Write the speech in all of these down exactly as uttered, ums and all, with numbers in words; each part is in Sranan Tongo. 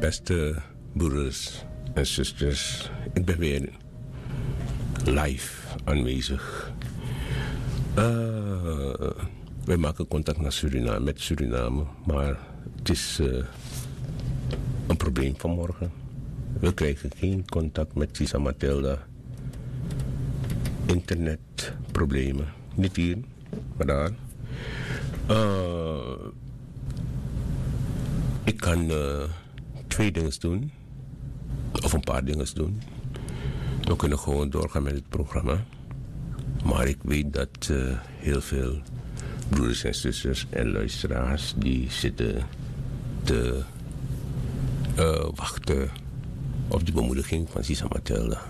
Beste broeders en zusters, ik ben weer live aanwezig. Eh, wij maken contact naar Suriname, met Suriname, maar het is eh, een probleem vanmorgen. We krijgen geen contact met Sisa Matilda. Internetproblemen. Niet hier, maar daar. Eh, ik kan eh, twee dingen doen. Of een paar dingen doen. We kunnen gewoon doorgaan met het programma. Maar ik weet dat eh, heel veel broeders en zusters en luisteraars die zitten te eh, wachten op die bemoediging van Sisa Matilda.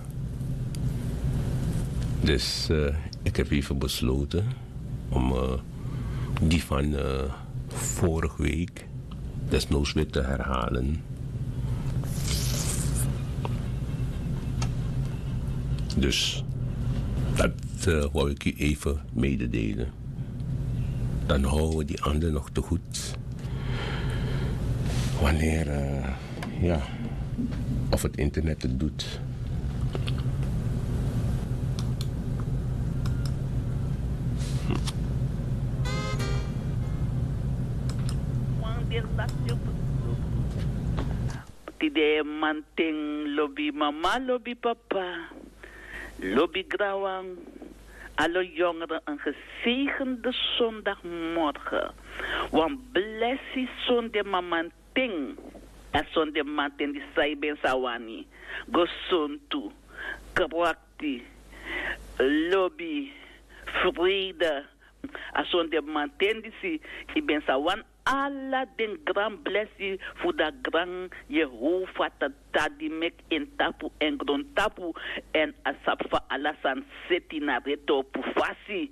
Dus eh, ik heb even besloten om eh, die van eh, vorige week desnoods weer te herhalen. Dus dat eh, wou ik u even mededelen. Dan houden we die ander nog te goed. Wanneer, eh, ja, of het internet het doet. Tide manten, lobi mama, lobi papa, lobi granwan, alle jongeren een gezegende zondagmorgen. Wan blessi sonde mamanten, a sonde manten di sai ben sawani, gesontu, krakti, lobi, vrede. A sonde manten disi, i ben sa wani ala den gran blesi fu da gran Yehova Tata di meki en tapu en grontapu, èn a sabi fa ala sani seti na retopu fasi.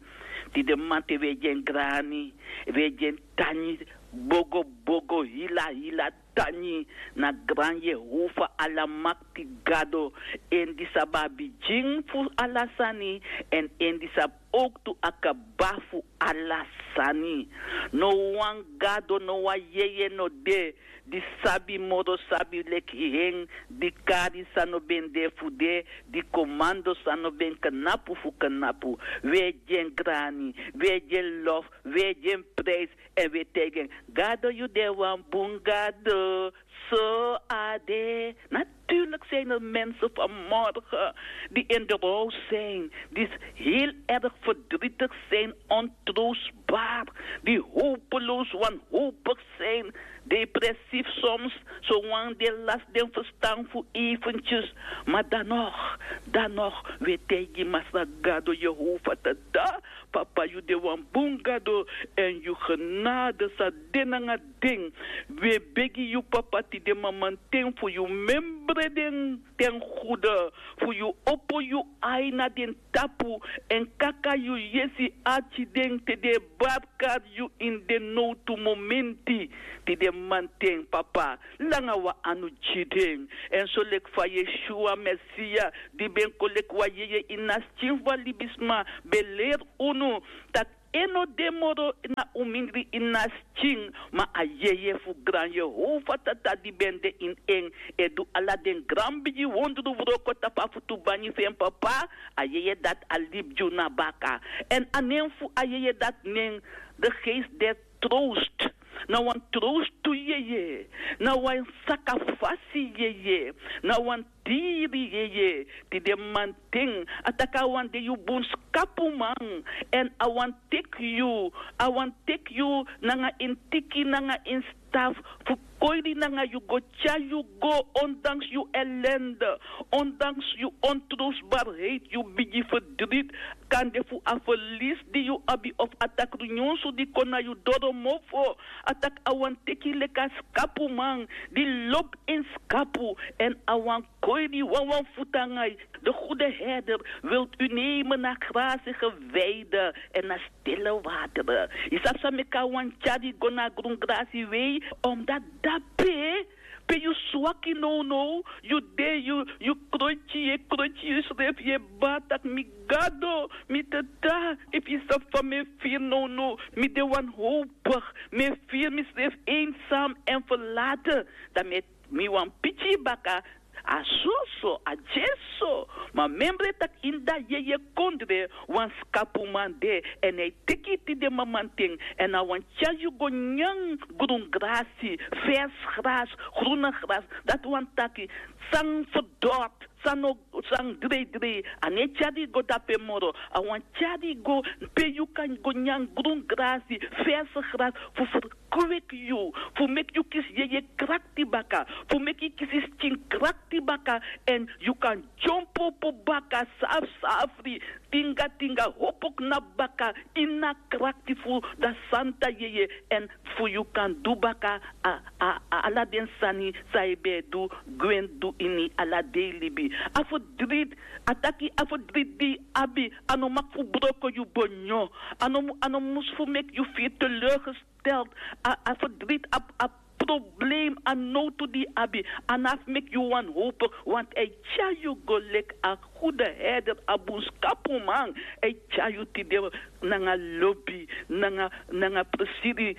Tide manten we gi en grani, we gi en tangi, bogo bogo, hila hila tangi na gran Yehova Alamakti Gado, en di sabi a bigin fu ala sani, èn en di sabi owktu a kaba fu ala sani. No wan gado, no wan yeye no de di sabi moro sabi leki en, di kari san no ben de fu de, di komando san no ben knapu fu knapu. We gi en grani, we gi en lof, we gi en prijs, èn we taigi en: Gado, yu de wan bun Gado. So a de. Natuurlijk zijn er mensen vanmorgen die in de rouw zijn, die heel erg verdrietig zijn, ontroostbaar, die hopeloos wanhopig zijn, depressief soms, zolang die last den verstaan voor eventjes. Maar dan nog, dan nog, we taigi Masra Gado Yehova Tata: Papa, yu de wan bun Gado, èn yu genade sa de nanga den. We begi yu, Papa, tide mamanten fu yu memre den ten gude, fu yu opo yu ai na den tapu, èn kaka yu yesi arki den te den e barkari yu ini den nowtu momenti. Tide manten, Papa, langa wan anu gi den. Èn soleki fa Yeshua Mesia, di ben kon leki wan yeye ini a skin fu a libisma, ben leri unu taki en no de moro na un mindri ini a skin, ma a yeye fu gran Yehova Tata di ben de ini en, e du ala den gran bigi wondru wroko tapu a futu bangi fu en, Papa. A yeye dati a libi gi unu na baka. Èn a nen fu a yeye dati nen de geest der troost. Na wan troostu yeye, na wan sakafasi yeye, na wan diri yeye. Tide manten a taki a wani de yu bun skapuman, èn a wani teki yu, a wani teki yu nanga en tiki, nanga en staf, fu koiri nanga yu go, tyari yu go, ondanks yu ellende, ondanks yu ontroostbaarheid, yu bigi verdriet, kande fu a verlies di yu abi of a takru nyunsu di kon na yu doro mofo. A taki a wani teki yu leki a skapuman di lobi ini skapu, èn a wani koiri yu wanwan futu nanga yu. De goede herder wil u nemen naar grazige weide en naar stille wateren. Yu sabi san meki a wani tyari yu go na grun grasi wei? Omdat dape pe yu swaki nownow, yu de yu yu kroiti yu e kroiti yusrefi yu e bari tak' mi gado, mi tata, efu yu sabi fa mi e firi nownow, mi de wanhowpigi, mi e firi misrefi einsam èn ferlate, dan mi e mi wani piki yu baka. A soso a dyesi so. Ma memre tak' ini dati yeye kondre wan skapuman de, èn a e teki yu tide mamanten, èn a wani tyari yu go nyan grun grasi, fers gras, gruna gras. Dati wani taki san ferdort, san no san dreidrei, a no e tyari yu go dape moro. A wani tyari yu go pe yu kan go nyan grun grasi, fers gras, fu ferkweki yu, fu meki yu kisi yeye krakti baka, fu meki yu kisi skin krakti baka, èn yu kan dyompo opo baka safsafri, tingatinga, hopo knapu baka ini a krakti fu dati santa yeye, èn fu yu kan du baka a a a ala den sani san yu ben e du gwe du ini ala dei libi. A ferdriti, a taki a ferdriti di yu abi, a no maki fu broko yu bonyo. A no mu a no mus fu meki yu firi teleurgesteld. A a ferdriti a a problem, a nowtu di yu abi, a no abi fu meki yu wanhowpigi, want a e tyari yu go leki a gudu herder, a bun skapuman. A e tyari yu tide nanga lobi, nanga nanga presiri.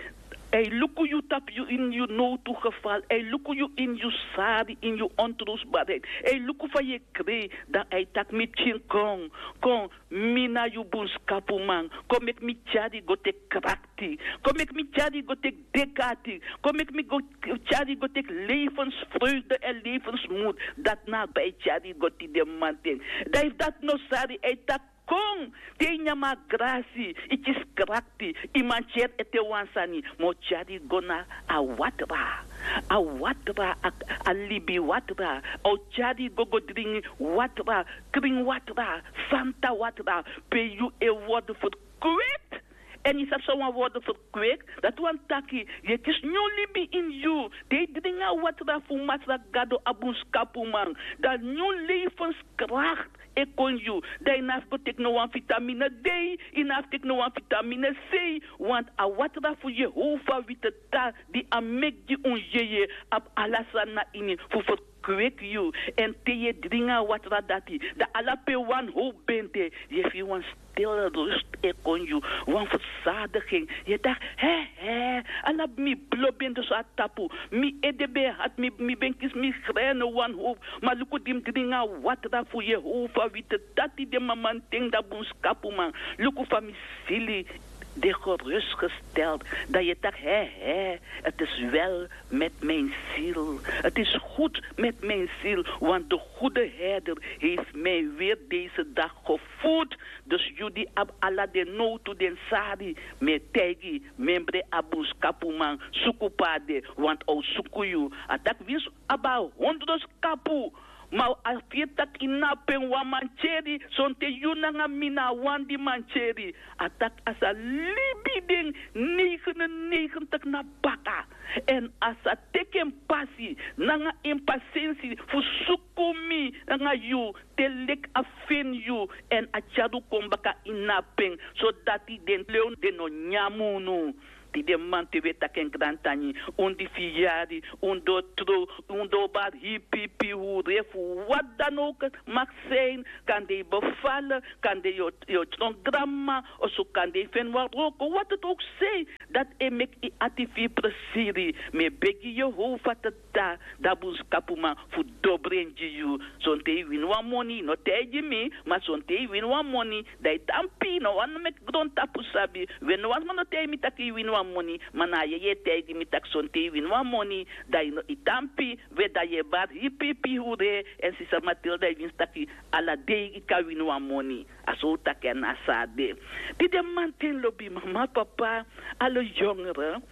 A e luku yu tapu yu ini yu nowtu gefal, a e luku yu ini yu sari, ini yu ontrusbarheid. A e luku fa yu e krei, dan a e taki mi pikin, kon kon, mi na yu bun skapuman. Kon meki mi tyari yu go teki krakti. Kon meki mi tyari yu go teki dekati. Kon meki mi go tyari yu go teki levensfreugde èn levensmud. Dati na a bai tyari yu go tide mamanten. Dan efu dati no sari, a e taki kon, te yu nyan a grasi, yu kisi krakti, yu mantyeri ete wan sani, ma a o tyari yu go na a watra. A watra, a libi watra. A o tyari yu go go dringi watra, krin watra, santa watra, pe yu e wordu ferkweki. Èn yu sabi san wan wordu ferkweki? Dati wani taki yu e kisi nyun libi ini yu. Te yu dringi a watra fu Masra Gado, a bun skapuman, dan nyun levenskrakt e kon yu. Dan yu no abi fu go teki no wan vitamine dei, yu no abi fu teki no wan vitamine sei. Want a watra fu Yehova witeta di a meki gi un yeye abi ala sani na ini fu ferkweki yu. Èn te yu e dringi a watra dati, dan ala pe wanhowpu ben de, yu e firi wan stil rust e kon yu, wan fersadigi en. Yu e taki, he he, ala mi blo ben de so na tapu, mi ede ben e hati, mi ben kisi migraine wanhowpu. Ma luku di mi dringi a watra fu Yehova witeta tide mamanten, dan bun skapuman, luku fa mi sili de gerustgesteld. Dan yu e taki, he he, het is wel met mijn ziel. Het is goed met mijn ziel, want de goede herder heeft mij weer deze dag gevoed. Dus yu di abi ala den nowtu, den sari, mi e taigi, memre a bun skapuman, suku pe a de, want a o suku yu. A taki winsi yu abi a hondro skapu, ma a firi tak' yu no abi pen wan mantyeri, sonten yu nanga mi na a wan di mantyeri. A taki a sa libi den negenennegentig na baka, èn a sa teki en pasi nanga en pasensi fu suku mi nanga yu, te leki a feni yu, èn a tyari un kon baka ini a pen, sodati den lew den no nyan unu. Tide mamanten wi e taki en grantangi, un di fu yari, un doro trow, un doro bari hipihipi hure fu wat dan ook mag zijn, kande yu befale, kande yu o tron granmama, oso kande yu feni wan wroko, wat het ook zij, dati e meki yu ati fu yu presiri. Mi e begi Yehova Tata, dan bun skapuman, fu dobri en gi yu. Sonten yu wini wan moni, yu no taigi mi, ma sonten yu wini wan moni, dan yu tampi, no wani meki grontapu sabi. We, no wan sma no taigi mi tak' yu wini wan moni, ma na a yeye e taigi mi tak' sonten yu wini wan moni, dan yu no, yu tampi. We, dan yu e bari hipihipi hure, èn sisa Matilda e winsi tak' ala dei yu kan wini wan moni. A so un taki en, na so a de. Tide mamanten, lobi mama, papa, ala yongre,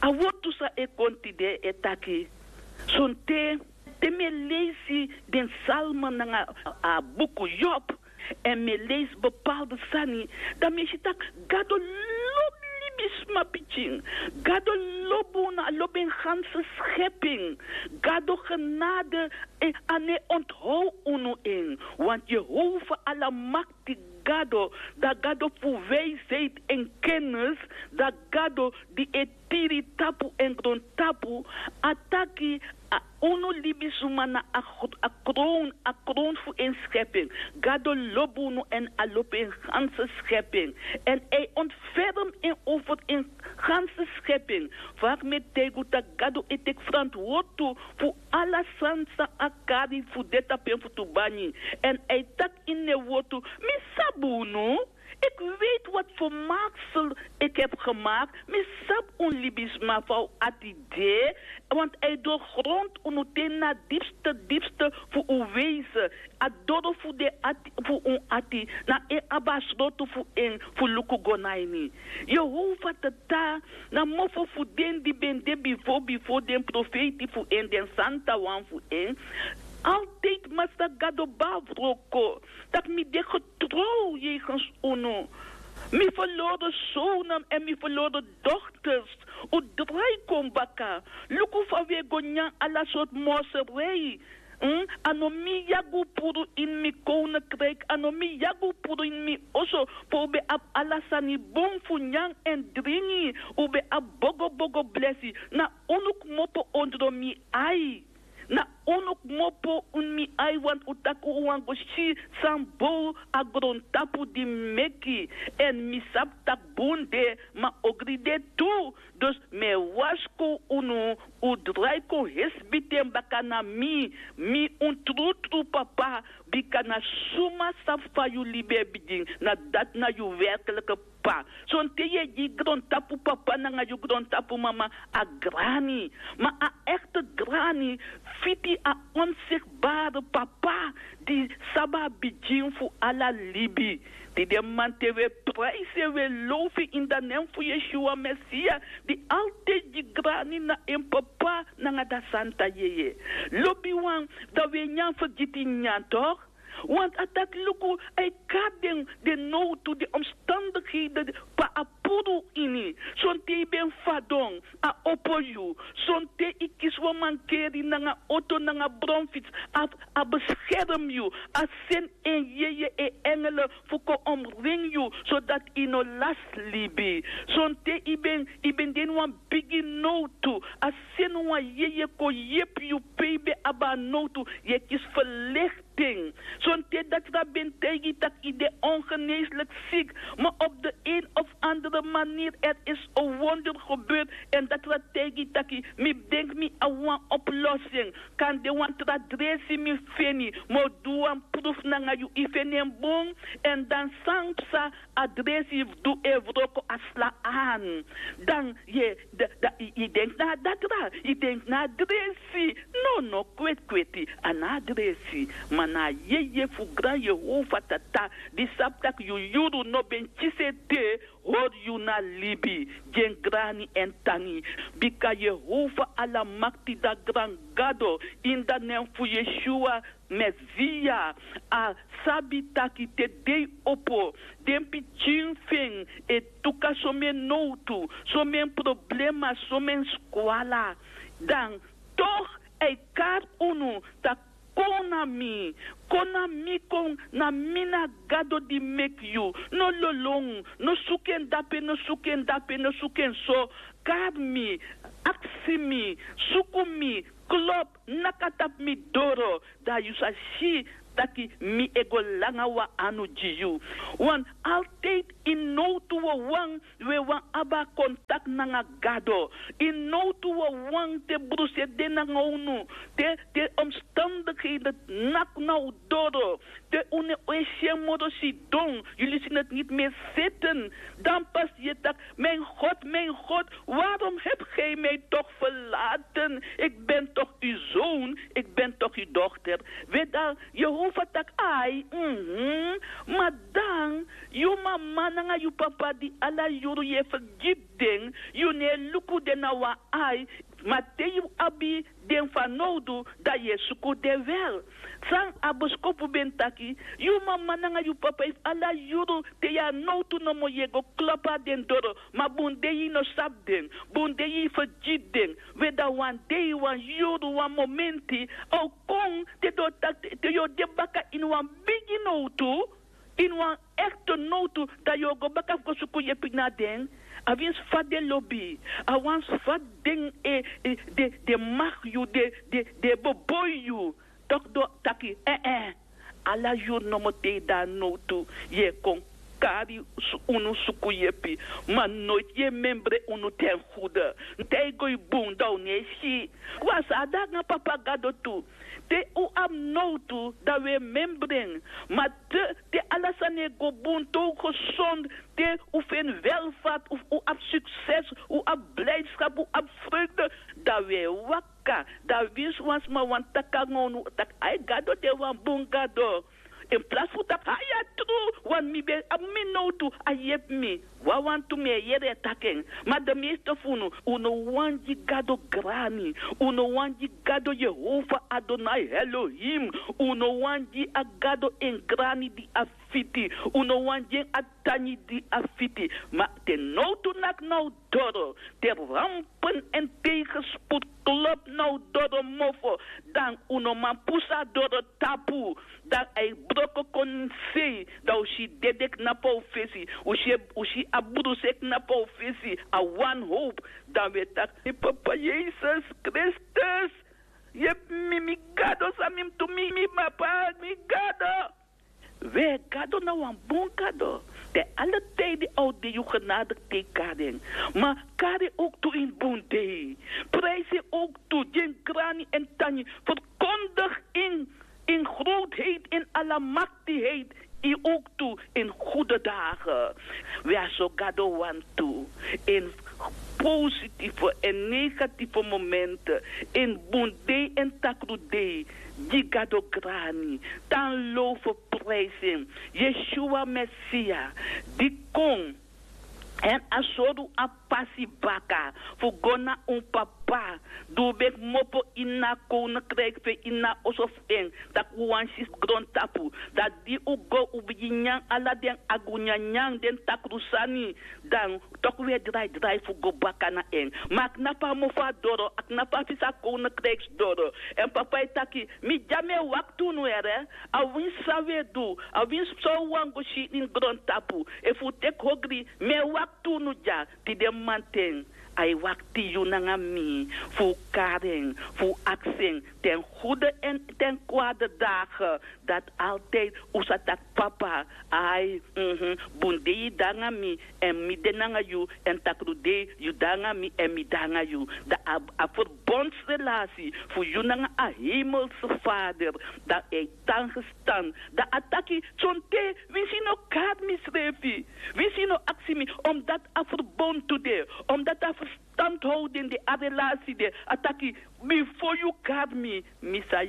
a wortu san e kon tide e taki, sonten te mi e leisi den psalmen nanga a buku Job, èn mi e leisi bepaalde sani, dan mi e si tak' Gado lobi libisma pikin. Gado lobi unu, a lobi en ganse schepping. Gado genade, a no e onthou unu en. Want Yehova Alamakti, Gado, dan Gado fu wijsheid en kennis, dan Gado di e tiri tapu èn grontapu, a taki, a unu libisma na a krown a krown fu en skepi en. Gado lobi unu èn a lobi en ganse skepi en. Èn a e ontferm en over en ganse skepi en. Fa a kmeti taigi unu tak' gado e teki ferantwortu fu ala sani san a kari fu de tapu en futu banyi. Èn a e taki ini en wortu, mi sabi unu. Iki weiti wati fu maksel iki hebi gemaki. Mi sabi un libisma fa un ati de. Wantu a e doro grontu unu te ini a dipste dipste fu un weisi. A doro fu den ati fu un ati na en abi a srotu fu en fu luku go na ini. Yehova tata, na mofo fu den di ben de bifo bifo den profeiti fu en den santa wan fu en. Altidi masra gado ben a wroko tak' mi de getrow yegens unu. Mi ferlori sownen èn mi ferlori dokters. Un drai kon baka. Luku fa un e go nyan ala sortu morserei. A no mi yagi un puru ini mi kownekriki a no mi yagi un puru ini mi oso. Pe un ben abi ala sani bun fu nyan èn dringi. Un ben abi bogobogo blesi. Na unu kmopo ondro mi ai. Na unu kmopo ini mi ai wantu un taki un wani go si san bow a grontapu di mi meki. Èn mi sabi tak' bun de ma ogri de tu. Dus mi e warskow unu. Un drai kon hesbiten baka na mi. Mi un trutru papa. Bika na suma sabi fa yu libi e bigin na dati na yu werklike p'pa. Sonten yu e gi grontapu papa nanga yu grontapu mama a grani. Ma a ekte grani fiti a onsigbare papa di sabi a bigin fu ala libi. Di den man te wi e praisi en wi e lowfu en ini dan nen fu yeshua mesia di altidi gi grani na en papa nanga dan santa yeye. Lobiwan, dan wi e nyan fergiti nyan tok'. Want a taki luku a e kari den nowtu den omstandikheden pe a puru ini. Sonten yu ben fadon a opo yu. Sonten yu kisi wan mankeri nanga oto nanga bronfits. A beskerm yu. A seni en yeye en engele fu kon omringi yu sodati yu no lasi libi. Sonten yu ben de ini wan bigi nowtu. A seni wan yeye kon yepi yu pe yu ben abi a nowtu. Yu e kisi ferlegi ten. Sonten datra ben taigi yu tak' yu de ongeneeslik sik. Ma op de een of andere manier er is a wonder gebeurt. Èn datra taigi yu tak' mi denki mi abi wan oplossing. Kan de wan tra dresi mi feni. Ma o du wan pruf nanga yu yu feni en bun. Èn dan san psa a dresi fu du e wroko a sla an. Dan yu denki na a datra yu denki na a dresi. No no kweti kweti a na a dresi. Ma na a yeye fu gran yehova tata di sabi tak' yu yuru no ben kisi ete. Hori yu na libi. Gi en grani èn tangi. Bika yehova alamakti dan gran gado ini dan nen fu yeshua mesia a sabi taki te dei opo den pikin fu en e tuka somen nowtu, somen problema, somen skwala. Dan tok' a e kari unu tak' kon na mi. Kon na mi kon na mi na gado di meki yu. No lolon. No suku en dape no suku en dape no suku en so. Kari mi. Aksi mi. Suku mi. Klop. Naka tapu mi doro dan yu sa si taki mi e go langa wan anu gi yu. Wan altidi ini nowtu wawan wi e wani abi a kontakti nanga gado. Ini nowtu wawan te brusu e de nanga unu te te omstandikheden naki na un doro te unu e si en moro sidon yu lisi neti niti mi e seten dan pasi yu e taki. Mein god mein god warom hebi gi mi tok' ferlaten? Iki ben tok' yu zoon iki ben tok' yu dokter. We dan yehova taki ai mhm. Ma dan yu mama nanga yu papa di ala yuru yu e fergiti den yu no e luku den na wan ai. Ma te yu abi den fanowdu dan yu e suku den wel. San a boskopu ben taki yu mama nanga yu papa efu ala yuru te yu a nowtu nomo yu e go klopu na den doro. Ma bun dei yu no sabi den. Bun dei yu fergiti den. We dan wan dei wan yuru wan momenti a o kon te den o taki te yu o de baka ini wan bigi nowtu ini wan ekte nowtu dan yu o go baka fu go suku yepi na den. A winsi fa den lobi, a wansi fa den e, e, den, den maki yu, den, den, den e boboi yu. Toki den o taki, eh, eh. Ala yuru nomo te yu de na nowtu, yu e kon kari unu suku yepi. Ma noiti yu e membre unu ten gude. Te yu go yu bun, dan un no e si. Wan sani de nanga Papa Gado tu. Te un abi nowtu, dan un e membre en. Ma te, te ala sani e go bun, te un gesond, te un feni welvaart, un, un abi sukses, un abi blijdschap, un abi vreugde, dan un e waka. Dan winsi wan sma wani taki nanga unu taki, ai, Gado de wan bun Gado. In plaats fu taki, a ya tru, want mi ben abi mi nowtu, a yepi mi. Wawan tu mi e yere e taki en. Ma de meeste fu unu, un no wani gi Gado grani. Un no wani gi Gado Jehovah Adonai Elohim. Un no wani gi a Gado en grani di a fiti. Un no wani gi en a tangi di a fiti. Ma te nowtu naki na un doro, te rampen en tegenspoed klop na un doro mofo, dan un no man pusu a doro tapu. Dan a e broko kon na sei, dan un si dede knapu na un fesi, un si, un si a bruse knapu na un fesi, a wanhoop. Dan un e taki, mi Papa Yesus Kristus, yepi mi, mi Gado, san mi mus du, mi, mi Papa, mi Gado. We, Gado na wan bun Gado. Te ala tijden a o de yu genadig te yu kari en. Ma kari en ook tu in bun dei. Prijs en ook tu, gi en grani en tangi. Verkondig in, in grootheid, in almachtigheid, yu ook tu in goede dagen. We, a so Gado wani tu, in positieve en negatieve momenten, in bun dei en takru dei, gi Gado grani, tan low fu prijs en. Yeshua Mesia, di kon, èn a sori un a pasi baka fu go na un Papa, di un ben kmopo ini a koninkrijk fu en, ini a oso fu en, tak' un wani si grontapu. Dan di un go, un bigin nyan ala den agunyanyan, den takru sani, dan toku un e draidrai fu go baka na en. Ma a knapu a mofo a doro, a knapu a fesi a koninkrijk doro. Èn Papa e taki, mi dya, mi e wakti unu, yere. A winsi san un e du, a winsi san un wani go si ini grontapu. Efu un teki ogri, mi e wakti unu dya. Tide mamanten a e wakti yu nanga mi fu un kari en, fu un aksi en, ten goede en ten kwade dagen, dati altijd un sa taki, Papa, ai, mhm, bun dei yu de nanga mi, èn mi de nanga yu, èn takru dei yu de nanga mi, èn mi de nanga yu. Dan a, a verbondsrelatie fu yu nanga a hemelse Vader, dan a e tan gestan. Dan a taki, sonten winsi yu no kari misrefi, winsi yu no aksi mi, omdat a verbond tu de, omdat a verstandhouding de, a relatie de, a taki, bifo yu kari mi, mi sa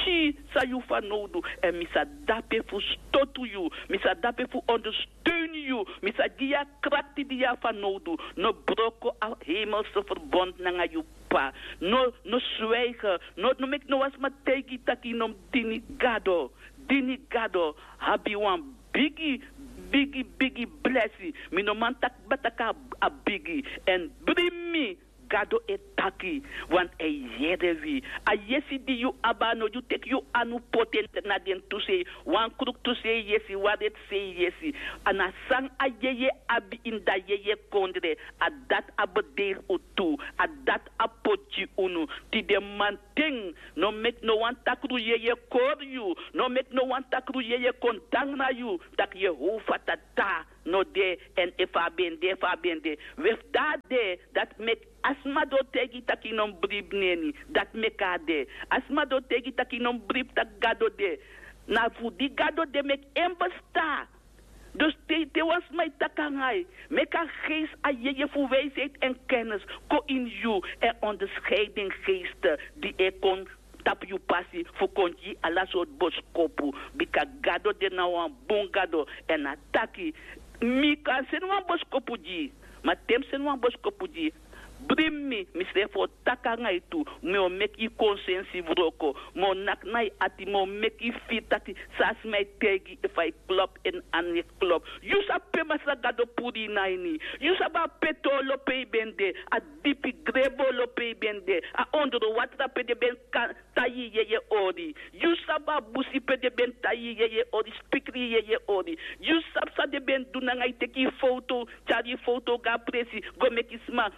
si san yu fanowdu, èn mi sa de dape fu stotu yu, mi sa de dape fu ondersteun yu, mi sa gi yu a krakti di yu abi fanowdu. No broko a hemelse verbond nanga yu Papa. No, no zwijgen. No, no meki no wan sma taigi yu taki yu no mus dini Gado. Dini Gado abi wan bigi, bigi, bigi blesi. Mi no man taki kaba taki a bigi. Èn bribi mi, Gado e taki, want a e yere wi. A yesi di yu abi, a no yu teki yu anu poti en na den tu sei. Wan kruktu sei yesi, wan reti sei yesi. A na san a yeye abi ini a yeye kondre, a dati a bederi un tu, a dati a poti gi unu. Tide mamanten, no meki no wan takru yeye kori yu, no meki no wan takru yeye kon tan na yu, taki Jehovah Tata no de, èn efu a ben de, efu a ben de. We, efu a de, dati meki a sma di o taigi yu taki yu no mus bribi neni, dati meki a de. A sma di o taigi yu taki yu no mus bribi taki Gado de, na fu di Gado de meki en bestaan. Dus te, te wan sma e taki nanga yu, meki a geest, a yeye fu wijsheid en kennis kon ini yu, èn onderscheidingsgeest di e kon tapu yu pasi fu kon gi yu ala sortu boskopu. Bika Gado de na wan bun Gado, èn a taki, mi kan seni wan boskopu gi yu, ma te mi seni wan boskopu gi yu, Bring mi, mi srefi o taki nanga yu tu. Mi o meki yu konsensi wroko. Mi o naki na yu ati, mi o meki yu firi taki san a sma e taigi yu, efu a e klop èn a no e klop. Yu sabi pe Masra Gado puru yu na ini. Yu sabi a peti olo pe yu ben de, a dipi grebu olo pe yu ben de, a ondro watra pe den ben kan tai yu yeye ori. Yu sabi a busi pe den ben tai yu yeye ori, spikri yu yeye ori. Yu sabi san den ben du nanga yu, teki yu foto, tyari yu foto go na presi, go meki sma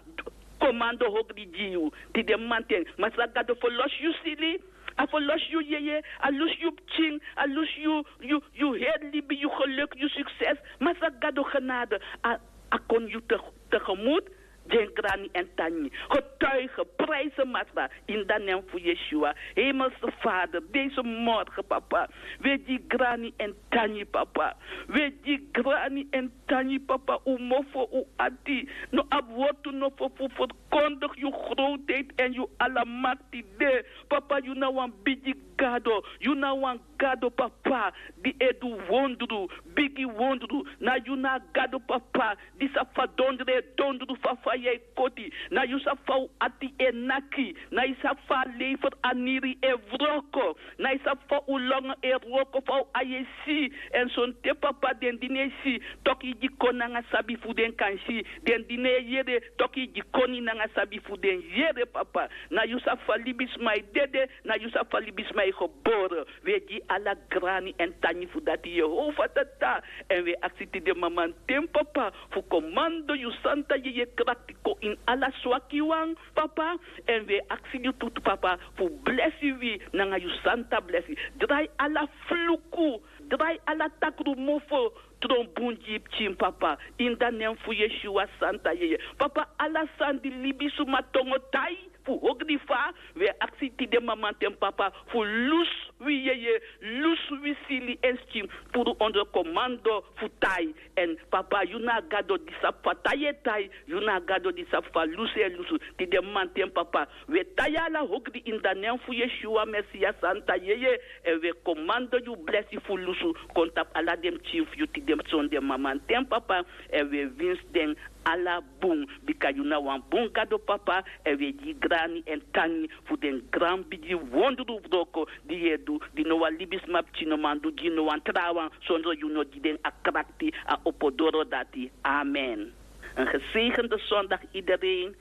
komando hogri gi yu. Tide mamanten, Masra Gado ferlosi yu sili, a ferlosi yu yeye, a lusu yu pikin, a lusu yu, yu, yu heri libi, yu geluk, yu sukses. Masra Gado genade, a, a kon yu te-, tegemoet. Gi en grani èn tangi. Getuige, prijs en Masra, in de naam fu Yeshua. Hemelse Vader, deze morgen, papa, wi e gi grani èn tangi, papa. Wi e gi grani èn tangi, papa. Un mofo, un ati. No abi wortu no fu, fu ferkondig yu grootheid èn yu alamakti de. Papa, yu na wan bigi Gado. Yu na wan Gado, papa, di e du wondru, bigi wondru. Na yu na a Gado, papa, di sabi fa dondru e dondru, fa faya e koti. Na yu sabi fa un ati e naki. Na yu sabi fa a leifer aniri e wroko. Na yu sabi fa un longo e wroko, fa un ai e si. Èn sonten, papa, den di no e si, toki yu gi koni nanga sabi fu den kan si. Den di no e yere, toki yu gi koni nanga sabi fu den yere, papa. Na yu sabi fa libisma e dede, na yu sabi fa libisma e gebore. Wi e gi ala grani èn tangi fu dati, Yehova Tata. Èn wi e aksi tide mamanten, papa, fu komando yu santa yeye krakti kon ini ala swakiwan, papa. Èn wi e aksi yu tu, papa, fu blesi wi nanga yu santa blesi. Drai ala fluku, drai ala takru mofo tron bun gi yu pikin, papa. In de naam fu Yeshua santa yeye. Papa, ala sani di libisma tongo tai fu hogri fa, wi e aksi tide mamanten, papa, fu lusu wi yeye, lusu wi sili èn skin, puru onder komando fu tai. Èn, papa, yu na a Gado di sabi fa tai e tai, yu na a Gado di sabi fa lusu e lusu. Tide mamanten, papa, wi e tai ala hogri in de naam fu Yeshua Mesias santa yeye, èn wi e komando yu blesi fu lusu kon tapu ala den pikin fu yu tide sonde mamanten, papa, èn wi e winsi den ala bun, bika yu na wan bun Gado, papa, èn wi e gi yu grani èn tangi fu den gran bigi wondru wroko di yu e du, di no wan libisma pikin no man du gi no wan trawan, sondro yu no gi den a krakti, a opo doro dati. Amen. Een gezegende zondag iedereen.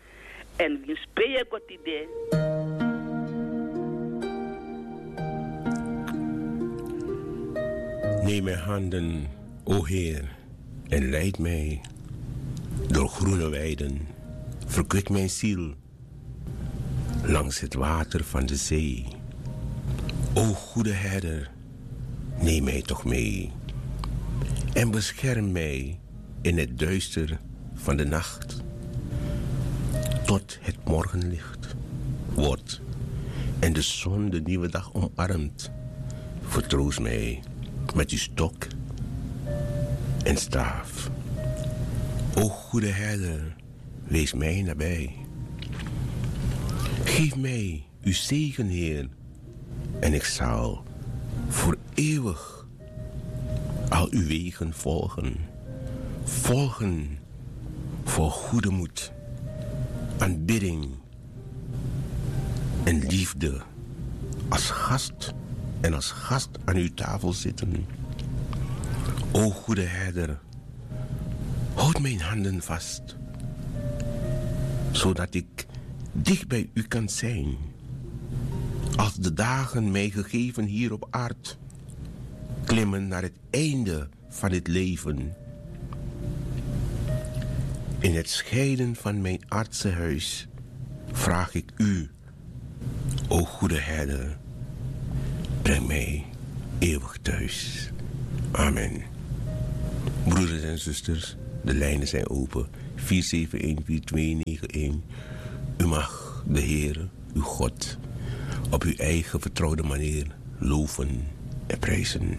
En winsi pe yu e go tide. Neem mijn handen, o Heer, en leid mij door groene weiden. Verkwik mijn ziel langs het water van de zee. O goede herder, neem mij toch mee en bescherm mij in het duister van de nacht, tot het morgenlicht wordt en de zon de nieuwe dag omarmt. Vertroost mij met uw stok en staaf. O goede herder, wees mij nabij. Geef mij uw zegen, Heer, en ik zal voor eeuwig al uw wegen volgen. Volgen voor goede moed, aanbidding en liefde. Als gast en als gast aan uw tafel zitten. O goede herder, houd mijn handen vast, zodat ik dicht bij u kan zijn. Als de dagen mij gegeven hier op aard klimmen naar het einde van het leven, in het scheiden van mijn aardse huis, vraag ik u: O goede herder, breng mij eeuwig thuis. Amen. Broeders en zusters, de lijnen zijn open. Vier zeven een, vier twee negen een. U mag de Heer, uw God, op uw eigen vertrouwde manier loven en prijzen.